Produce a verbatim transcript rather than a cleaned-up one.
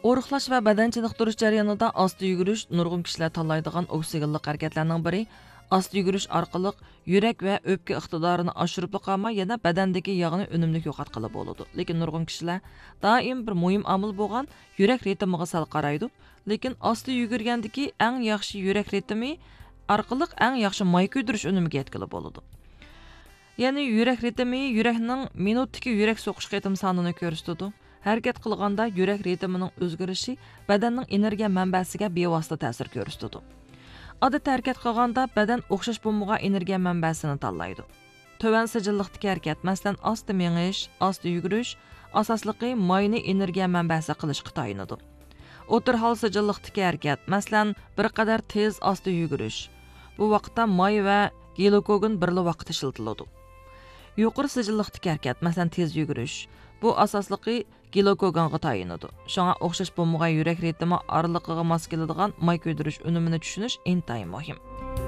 ئورۇقلاش ۋە بەدەن چېنىقتۇرۇش جەريانىدا ئاستا يۈگۈرۈش نۇرغۇن كىشىلەر تاللايدىغان ئوكسىگېنلىق ھەرىكەتلەرنىڭ بىرى. ئاستا يۈگۈرۈش ئارقىلىق يۈرەك ۋە ئۆپكە ئىقتىدارىنى ئاشۇرۇپلا قالماي، يەنە بەدەندىكى ياغنى ئۈنۈملۈك يوقاتقىلى بولىدۇ. لېكىن نۇرغۇن كىشىلەر دائىم بىر مۇھىم ئامىل بولغان يۈرەك رىتىمىغا سەل قارايدۇ. لېكىن ئاستا يۈگۈرگەندىكى ئەڭ ياخشى يۈرەك رىتىمى ئارقىلىق ئەڭ ياخشى ماي كۆيدۈرۈش ئۈنۈمىگە يەتكىلى بولىدۇ. يەنى يۈرەك رىتىمى يۈرەكنىڭ مىنۇتتىكى يۈرەك سوقۇش قېتىم سانىنى كۆرسىتىدۇ. ھەرىكەت قىلغاندا يۈرەك رىتىمىنىڭ ئۆزگىرىشى بەدەننىڭ ئېنېرگىيە مەنبەسىگە بىۋاسىتە تەسىر كۆرسىتىدۇ. ئادەتتە ھەرىكەت قىلغاندا بەدەن ئوخشاش بولمىغان ئېنېرگىيە مەنبەسىنى تاللايدۇ. تۆۋەن سىجىللىقتىكى ھەرىكەت، مەسىلەن، ئاستا مېڭىش، ئاستا يۈگۈرۈش، ئاساسلىقى ماينى ئېنېرگىيە مەنبەسى قىلىشقا تايىنىدۇ. ئوتتۇرا ھال سىجىللىقتىكى ھەرىكەت، مەسىلەن، بىر قەدەر تېز ئاستا يۈگۈرۈش. بۇ ۋاقىتتا ماي ۋە گلىكوگېن بىرلا ۋاقىتتا ئىشلىتىلىدۇ. يۇقىرى سىجىللىقتىكى ھەرىكەت، مەسىلەن، تېز يۈگۈرۈش. بۇ ئاساسلىقى گلىكوگېنغا تايىنىدۇ. شۇڭا ئوخشاش بولمىغان يۈرەك رىتىمى ئارىلىقىغا ماس كېلىدىغان ماي كۆيدۈرۈش ئۈنۈمىنى چۈشىنىش ئىنتايىن مۇھىم.